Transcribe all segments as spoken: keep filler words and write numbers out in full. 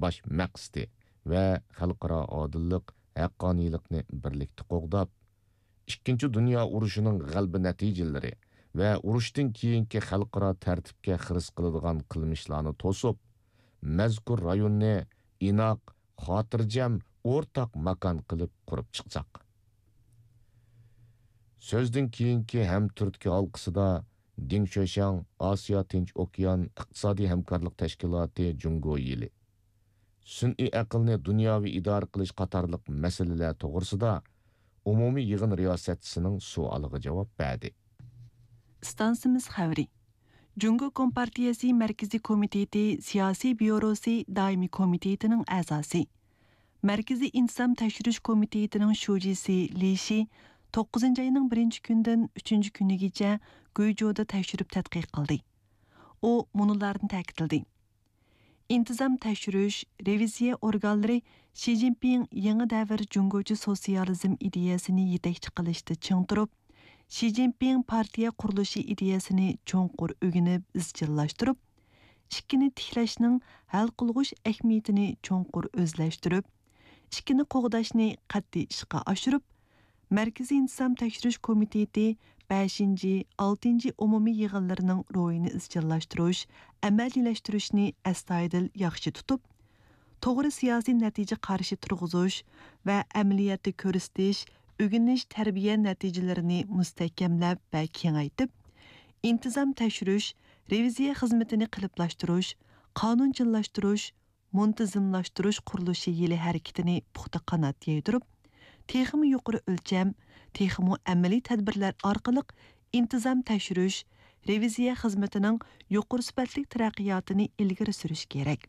ئاش مەقسىتى ۋە خەلقئارا ئادىللىق، ھەققانىيلىقنى بىرلىكتە قوغداپ، ئىككىنچى دۇنيا ئۇرۇشىنىڭ غەلىبە نەتىجىلىرى ۋە ئۇرۇشتىن كېيىنكى خەلقئارا تەرتىپكە خىرىس قىلىدىغان قىلمىشلارنى توسۇپ، مەزكۇر رايوننى ئىناق، خاتىرجەم، ئورتاق ماكان قىلىپ قۇرۇپ چىقساق. سۆزدىن كېيىنكى ھەمتۈرتكە ھالقىسىدا دىڭ شۆشياڭ ئاسىيا تىنچ ئوكيان ئىقتىسادىي ھەمكارلىق تەشكىلاتى جۇڭگو يىلى، سۈنئىي ئەقىلنى دۇنياۋى ئىدارە قىلىش قاتارلىق مەسىلىلەر توغرىسىدا ئومۇمىي يىغىن رىياسەتچىسىنىڭ سوئالىغا جاۋاب بەردى. ئىستانسىمىز خەۋىرى. جۇڭگو كومپارتىيەسى مەركىزىي كومىتېتى سىياسىي بيۇروسى دائىمىي كومىتېتىنىڭ ئەزاسى، مەركىزىي ئىنتىزام تەكشۈرۈش كومىتېتىنىڭ شۇجىسى لى شى توققۇزىنچى ئاينىڭ بىرىنچى كۈنىدىن ئۈچىنچى كۈنىگىچە گۇيجۇدا تەكشۈرۈپ تەتقىق قىلدى. ئۇ مۇنۇلارنى تەكىتلىدى: ئىنتىزام تەكشۈرۈش، رېۋىزىيە ئورگانلىرى شى جىنپىڭ يېڭى دەۋر جۇڭگوچە سوتسىيالىزم ئىدىيەسىنى يېتەكچى قىلىشتا چىڭ تۇرۇپ، شى جىنپىڭ پارتىيە قۇرۇلۇشى ئىدىيەسىنى چوڭقۇر ئۆگىنىپ ئىزچىللاشتۇرۇپ، ئىككىنى تىكلەشنىڭ ھەل قىلغۇچ ئەھمىيىتىنى چوڭقۇر ئۆزلەشتۈرۈپ، ئىككىنى قوغداشنى قەتئىي ئىشقا ئاشۇرۇپ، مەركىزىي ئىنتىزام تەكشۈرۈش كومىتېتى بەشىنچى، ئالتىنچى ئومۇمىي يىغىنلىرىنىڭ روھىنى ئىزچىللاشتۇرۇش، ئەمەلىيلەشتۈرۈشنى ئەستايىدىل ياخشى تۇتۇپ، توغرا سىياسىي نەتىجە قارىشى تۇرغۇزۇش ۋە ئەمەلىيەتتە كۆرسىتىش، ئۆگىنىش، تەربىيە نەتىجىلىرىنى مۇستەھكەملەپ ۋە كېڭەيتىپ، ئىنتىزام تەكشۈرۈش، رېۋىزىيە خىزمىتىنى قېلىپلاشتۇرۇش، قانۇنچىللاشتۇرۇش، مۇنتىزىملاشتۇرۇش قۇرۇلۇشى يىلى ھەرىكىتىنى پۇختا قانات يايدۇرۇپ، تېخىمۇ يۇقىرى ئۆلچەم، تېخىمۇ ئەمەلىي تەدبىرلەر ئارقىلىق ئىنتىزام تەكشۈرۈش، رېۋىزىيە خىزمىتىنىڭ يۇقىرى سۈپەتلىك تەرەققىياتىنى ئىلگىرى سۈرۈش كېرەك.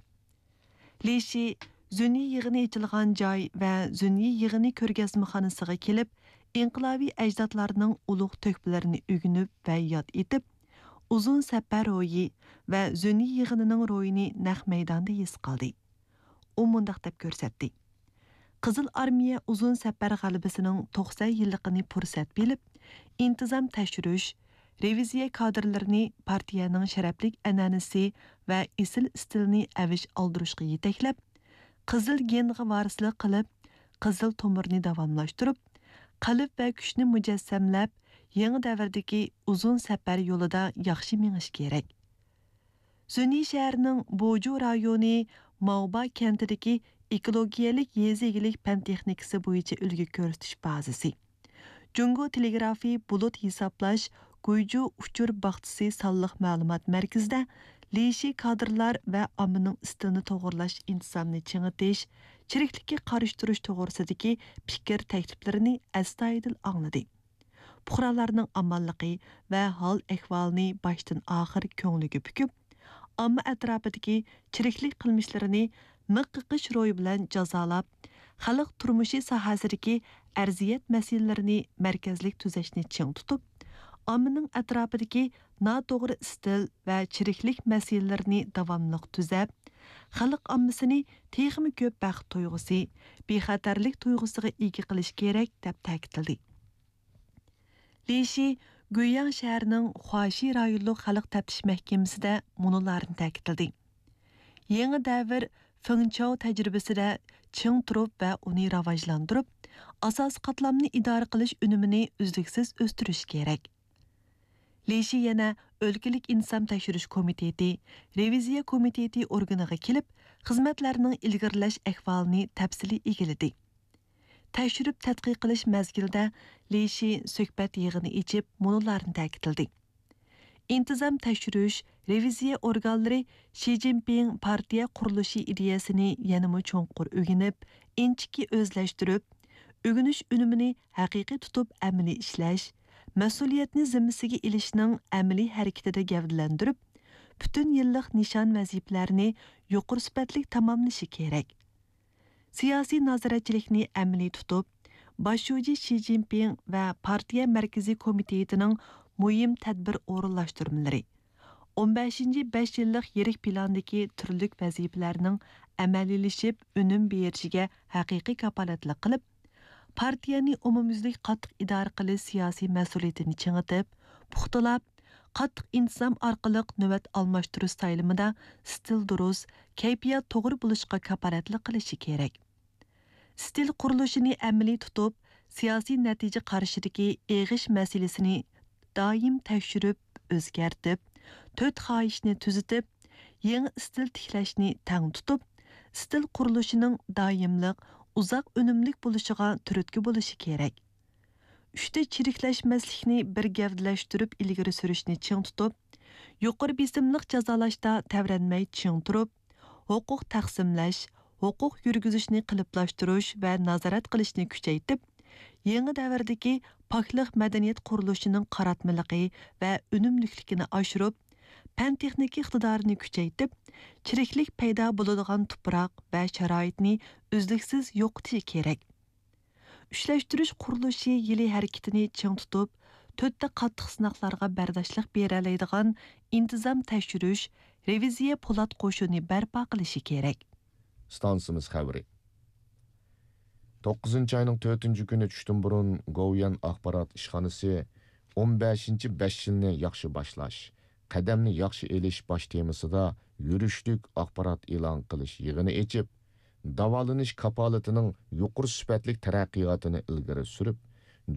لى شى زۈننى يىغىنى ئېچىلغان جاي ۋە زۈننى يىغىنى كۆرگەزمىخانىسىغا كېلىپ، ئىنقىلابىي ئەجدادلارنىڭ ئۇلۇغ تۆھپىلىرىنى ئۆگىنىپ ۋە ياد ئېتىپ، ئۇزۇن سەپەر روھى ۋە زۈننى يىغىنىنىڭ روھىنى نەق مەيداندا ھېس قىلدى. ئۇ مۇنداق دەپ كۆرسەتتى: قىزىل ئارمىيە ئۇزۇن سەپەر غەلىبىسىنىڭ توقسەن يىللىقىنى پۇرسەت بىلىپ، ئىنتىزام تەكشۈرۈش، رېۋىزىيە كادىرلىرىنى پارتىيەنىڭ شەرەپلىك ئەنئەنىسى ۋە ئېسىل ئىستىلىنى ئەۋج ئالدۇرۇشقا يېتەكلەپ، قىزىل گېنغا ۋارىسلىق قىلىپ، قىزىل تومۇرنى داۋاملاشتۇرۇپ، قەلب ۋە كۈچنى مۇجەسسەملەپ، يېڭى دەۋردىكى ئۇزۇن سەپەر يولىدا ياخشى مېڭىش كېرەك. زۈننى شەھىرىنىڭ بوجۇ رايونى ماۋبا كەنتىدىكى ئېكولوگىيەلىك يېزا ئىگىلىك پەن تېخنىكىسى بويىچە ئۈلگە كۆرسىتىش بازىسى، جۇڭگو تېلېگرافى بۇلۇت ھېسابلاش گۇيجۇ ئۇچۇر باغچىسى سانلىق مەلۇمات مەركىزىدە لى شى كادىرلار ۋە ئاممىنىڭ ئىستىلىنى توغرىلاش ئىنتىزامنى چىڭىتىش، چىرىكلىككە قارشى تۇرۇش توغرىسىدىكى پىكىر تەكلىپلىرىنى ئەستايىدىل ئاڭلىدى. پۇقرالارنىڭ ئامانلىقى ۋە ھال ئەھۋالىنى باشتىن ئاخىر كۆڭلىگە پۈكۈپ، ئامما ئەتراپىدىكى چىرىكلىك قىلمىشلىرىنى مىخ قېقىش روھى بىلەن جازالاپ، خەلق تۇرمۇشى ساھەسىدىكى ئەرزىيەت مەسىلىلىرىنى مەركەزلىك تۈزەشنى چىڭ تۇتۇپ، ئاممىنىڭ ئەتراپىدىكى ناتوغرا ئىستىل ۋە چىرىكلىك مەسىلىلىرىنى داۋاملىق تۈزەپ، خەلق ئاممىسىنى تېخىمۇ كۆپ بەخت تۇيغۇسى، بىخەتەرلىك تۇيغۇسىغا ئىگە قىلىش كېرەك، دەپ تەكىتلىدى. لى شى گۇيياڭ شەھىرىنىڭ خۇاشى رايونلۇق خەلق تەپتىش مەھكىمىسىدە مۇنۇلارنى تەكىتلىدى: يېڭى دەۋر فېڭچاۋ تەجرىبىسىدە چىڭ تۇرۇپ ۋە ئۇنى راۋاجلاندۇرۇپ، ئاساسىي قاتلامنى ئىدارە قىلىش ئۈنۈمىنى ئۈزلۈكسىز ئۆستۈرۈش كېرەك. لى شى يەنە ئۆلكىلىك ئىنتىزام تەكشۈرۈش كومىتېتى، رېۋىزىيە كومىتېتى ئورگىنىغا كېلىپ، خىزمەتلەرنىڭ ئىلگىرىلەش ئەھۋالىنى تەپسىلىي ئىگىلىدى. تەكشۈرۈپ تەتقىق قىلىش مەزگىلىدە لى شى سۆھبەت يىغىنى ئېچىپ، مۇنۇلارنى تەكىتلىدى: ئىنتىزام تەكشۈرۈش، رېۋىزىيە ئورگانلىرى شى جىنپىڭ پارتىيە قۇرۇلۇشى ئىدىيەسىنى يەنىمۇ چوڭقۇر ئۆگىنىپ، ئىنچىكە ئۆزلەشتۈرۈپ، ئۆگىنىش ئۈنۈمىنى ھەقىقىي تۇتۇپ ئەمەلىي ئىشلەش، مەسئۇلىيەتنى زىممىسىگە ئېلىشنىڭ ئەمەلىي ھەرىكىتىدە گەۋدىلەندۈرۈپ، پۈتۈن يىللىق نىشان ۋەزىپىلەرنى يۇقىرى سۈپەتلىك تاماملىشى كېرەك. سىياسىي نازارەتچىلىكنى ئەمەلىي تۇتۇپ، باش شۇجى شى جىنپىڭ ۋە پارتىيە مەركىزىي كومىتېتىنىڭ مۇھىم تەدبىر ئورۇنلاشتۇرمىلىرى، ئون بەشىنچى بەش يىللىق يىرىك پىلاندىكى تۈرلۈك ۋەزىپىلەرنىڭ ئەمەلىيلىشىپ ئۈنۈم بېرىشىگە ھەقىقىي كاپالەتلىك قىلىپ، پارتىيەنى ئومۇميۈزلۈك قاتتىق ئىدارە قىلىش سىياسىي مەسئۇلىيىتىنى چىڭىتىپ، پۇختىلاپ، قاتتىق ئىنتىزام ئارقىلىق نۆۋەت ئالماشتۇرۇش سايلىمىدا ئىستىل دۇرۇس، كەيپىيات توغرا بولۇشقا كاپالەتلىك قىلىشى كېرەك. ئىستىل قۇرۇلۇشىنى ئەمەلىي تۇتۇپ، سىياسىي نەتىجە قارىشىدىكى ئېغىش مەسىلىسىنى دائىم تەكشۈرۈپ، ئۆزگەرتىپ، تۆت خاھىشنى تۈزىتىپ، يېڭى ئىستىل تىكلەشنى تەڭ تۇتۇپ، ئىستىل قۇرۇلۇشىنىڭ دائىملىق، ئۇزاق ئۈنۈملۈك بولۇشىغا تۈرتكە بولۇشى كېرەك. ئۈچتە چىرىكلەشمەسلىكنى بىر گەۋدىلەشتۈرۈپ ئىلگىرى سۈرۈشنى چىڭ تۇتۇپ، يۇقىرى بېسىملىق جازالاشتا تەۋرەنمەي چىڭ تۇرۇپ، ھوقۇق تەقسىملەش، ھوقۇق يۈرگۈزۈشنى قېلىپلاشتۇرۇش ۋە نازارەت قىلىشنى كۈچەيتىپ، يېڭى دەۋردىكى پاكلىق مەدەنىيەت قۇرۇلۇشىنىڭ قاراتمىلىقى ۋە ئۈنۈملۈكلۈكىنى ئاشۇرۇپ، پەن-تېخنىكا ئىقتىدارىنى كۈچەيتىپ، چىرىكلىك پەيدا بولىدىغان تۇپراق ۋە شارائىتنى ئۈزلۈكسىز يوقىتىشى كېرەك. ئۈچلەشتۈرۈش قۇرۇلۇشى يىلى ھەرىكىتىنى چىڭ تۇتۇپ، تۆتتە قاتتىق سىناقلارغا بەرداشلىق بېرەلەيدىغان ئىنتىزام تەكشۈرۈش، رېۋىزىيە پولات قوشۇنى بەرپا قىلىشى كېرەك. ئىستانسىمىز خەۋىرى. توققۇزىنچى ئاينىڭ تۆتىنچى كۈنى چۈشتىن بۇرۇن گوۋۇيۈەن ئاخبارات ئىشخانىسى ئون بەشىنچى بەش يىلنى ياخشى باشلاش، قەدەمنى ياخشى ئېلىش باش تېمىسىدا يۈرۈشلۈك ئاخبارات ئېلان قىلىش يىغىنى ئېچىپ، داۋالىنىش كاپالىتىنىڭ يۇقىرى سۈپەتلىك تەرەققىياتىنى ئىلگىرى سۈرۈپ،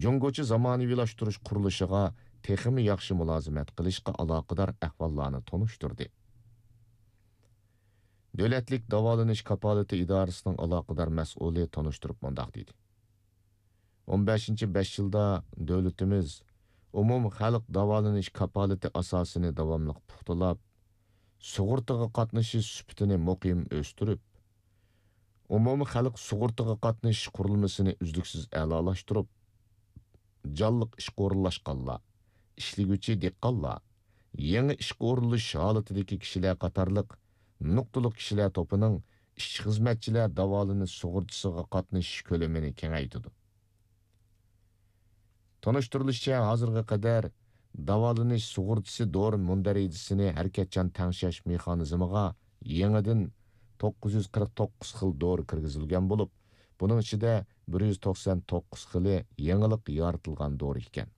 جۇڭگوچە زامانىۋىلاشتۇرۇش قۇرۇلۇشىغا تېخىمۇ ياخشى مۇلازىمەت قىلىشقا ئالاقىدار ئەھۋاللارنى تونۇشتۇردى. دۆلەتلىك داۋالىنىش كاپالىتى ئىدارىسىنىڭ ئالاقىدار مەسئۇلى تونۇشتۇرۇپ مۇنداق دېدى: ئون بەشىنچى بەش يىلدا دۆلىتىمىز ئومۇمخەلق داۋالىنىش كاپالىتى ئاساسىنى داۋاملىق پۇختىلاپ، سۇغۇرتىغا قاتنىشىش سۈپىتىنى مۇقىم ئۆستۈرۈپ، ئومۇمىي خەلق سۇغۇرتىغا قاتنىشىش قۇرۇلمىسىنى ئۈزلۈكسىز ئەلالاشتۇرۇپ، جانلىق ئىشقا ئورۇنلاشقانلار، ئىشلىگۈچى دېھقانلار، يېڭى ئىشقا ئورۇنلىشىش ھالىتىدىكى كىشىلەر قاتارلىق نۇقتىلىق كىشىلەر توپىنىڭ ئىشچى-خىزمەتچىلەر داۋالىنىش سۇغۇرتىسىغا قاتنىشىش كۆلىمىنى كېڭەيتىدۇ. تونۇشتۇرۇلۇشىچە، ھازىرغا قەدەر داۋالىنىش سۇغۇرتىسى دورا مۇندەرىجىسىنى ھەرىكەتچان تەڭشەش مېخانىزمىغا يېڭىدىن توققۇز يۈز قىرىق توققۇز خىل دورا كىرگۈزۈلگەن بولۇپ، بۇنىڭ ئىچىدە بىر يۈز توقسان توققۇز خىلى يېڭىلىق يارىتىلغان دورا ئىكەن.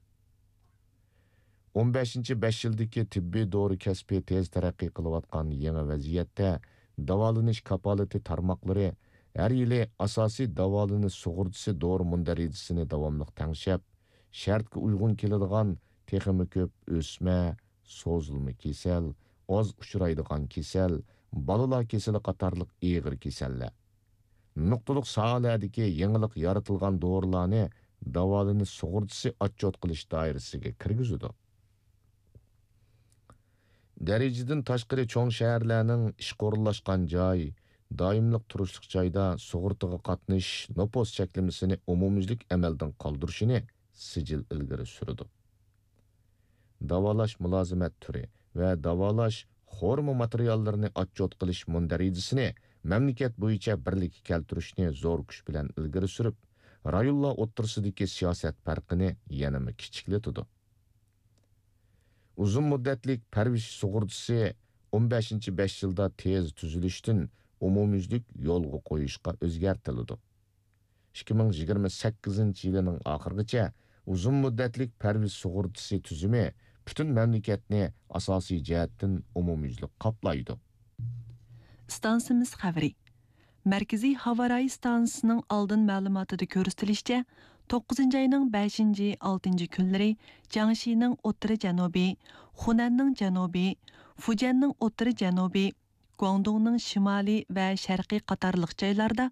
ئون بەشىنچى بەش يىلدىكى تېببىي دورا كەسپى تېز تەرەققىي قىلىۋاتقان يېڭى ۋەزىيەتتە، داۋالىنىش كاپالىتى تارماقلىرى ھەر يىلى ئاساسىي داۋالىنىش سۇغۇرتىسى دورا مۇندەرىجىسىنى داۋاملىق تەڭشەپ، شەرتكە ئۇيغۇن كېلىدىغان تېخىمۇ كۆپ ئۆسمە، سوزۇلما كېسەل، ئاز ئۇچرايدىغان كېسەل، بالىلار كېسىلى قاتارلىق ئېغىر كېسەللەر، نۇقتىلىق ساھەلەردىكى يېڭىلىق يارىتىلغان دورىلارنى داۋالىنىش سۇغۇرتىسى ئاتچوت قىلىش دائىرىسىگە كىرگۈزىدۇ. دەرىجىدىن تاشقىرى چوڭ شەھەرلەرنىڭ ئىشقا ئورۇنلاشقان جاي، دائىملىق تۇرۇشلۇق جايدا سۇغۇرتىغا قاتنىشىش نوپۇس چەكلىمىسىنى ئومۇميۈزلۈك ئەمەلدىن قالدۇرۇشىنى سىجىل ئىلگىرى سۈرىدۇ. داۋالاش مۇلازىمەت تۈرى ۋە داۋالاش خورما ماتېرىياللىرىنى ئاتچوت قىلىش مۇندەرىجىسىنى مەملىكەت بويىچە بىرلىككە كەلتۈرۈشنى زور كۈچ بىلەن ئىلگىرى سۈرۈپ، رايونلار ئوتتۇرىسىدىكى سىياسەت پەرقىنى يەنىمۇ كىچىكلىتىدۇ. ئۇزۇن مۇددەتلىك پەرۋىش سۇغۇرتىسى ئون بەشىنچى بەش يىلدا تېز تۈزۈلۈشتىن ئومۇميۈزلۈك يولغا قويۇشقا ئۆزگەرتىلىدۇ. ئىككى مىڭ يىگىرمە سەككىزىنچى يىلىنىڭ ئاخىرىغىچە ئۇزۇن مۇددەتلىك پەرۋىش سۇغۇرتىسى تۈزۈمى پۈتۈن مەملىكەتنى ئاساسىي جەھەتتىن ئومۇميۈزلۈك قاپلايدۇ. ئىستانسىمىز خەۋىرى. مەركىزىي ھاۋا رايى ئىستانسىسىنىڭ ئالدىن مەلۇماتىدا كۆرسىتىلىشىچە، توققۇزىنچى ئاينىڭ بەشىنچى، ئالتىنچى كۈنلىرى جياڭشىنىڭ ئوتتۇرا جەنۇبى، خۇنەننىڭ جەنۇبى، فۇجيەننىڭ ئوتتۇرا جەنۇبى، گۇاڭدۇڭنىڭ شىمالى ۋە شەرقى قاتارلىق جايلاردا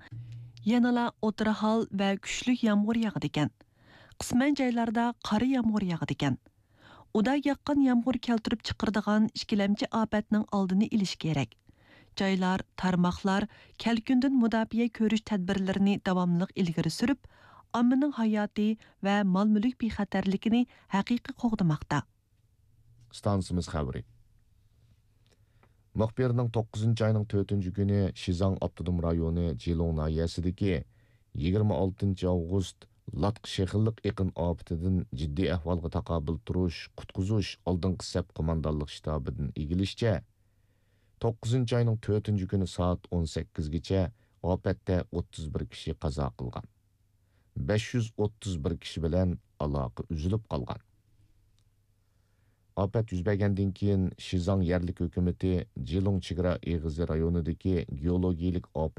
يەنىلا ئوتتۇرا ھال ۋە كۈچلۈك يامغۇر ياغىدىكەن. قىسمەن جايلاردا قارا يامغۇر ياغىدىكەن. ئۇدا ياغقان يامغۇر كەلتۈرۈپ چىقىرىدىغان ئىككىلەمچى ئاپەتنىڭ ئالدىنى ئېلىش كېرەك. جايلار، تارماقلار كەلكۈندىن مۇداپىئە كۆرۈش تەدبىرلىرىنى داۋاملىق ئىلگىرى سۈرۈپ، ئاممىنىڭ ھاياتى ۋە مال-مۈلۈك بىخەتەرلىكىنى ھەقىقىي قوغدىماقتا. ئىستانسىمىز خەۋىرى. مۇخبىرنىڭ توققۇزىنچى ئاينىڭ تۆتىنچى كۈنى شىزاڭ ئاپتونوم رايونى جىلۇڭ ناھىيەسىدىكى يىگىرمە ئالتىنچى ئاۋغۇست لاتقا شېخىللىق ئېقىن ئاپىتىدىن جىددىي ئەھۋالغا تاقابىل تۇرۇش، قۇتقۇزۇش ئالدىنقى سەپ قوماندانلىق شتابىدىن ئىگىلىشىچە، توققۇزىنچى ئاينىڭ تۆتىنچى كۈنى سائەت ئون سەككىزگىچە ئاپەتتە ئوتتۇز بىر كىشى قازا قىلغان. بەش يۈز ئوتتۇز بىر كىشى بىلەن ئالاقە ئۈزۈلۈپ قالغان. ئاپەت يۈز بەرگەندىن كېيىن، شىزاڭ يەرلىك ھۆكۈمىتى جىلۇڭ چېگرا ئېغىزى رايونىدىكى گېئولوگىيىلىك ئاپەت